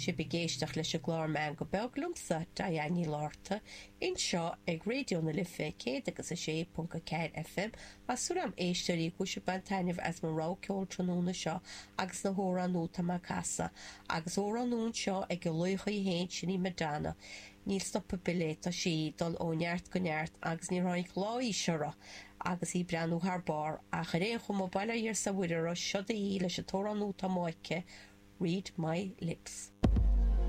Sibh ag éisteacht leis an gclár Meangadh Beag liomsa, Diane Ní Fhlatharta, anseo ag Raidió na Life 106.4 FM. Tá súil agam éisteoirí go bhfuil sibh ag baint taitneamh as mo rogha ceoil tráthnóna seo agus na hamhráin nua atá mé ag casadh. Agus amhrán nua anseo ag an laoch í féin, sin í Madonna. Níl stop ar bith léi, tá sí ag dul ó neart go neart agus níor tháinig lá aois uirthi agus í ag breathnú thar barr. Ach ar aon chuma, bail ó Dhia 's ar Mhuire uirthi, seod í leis an t-amhrán nua atá amuigh aici, Read My Lips.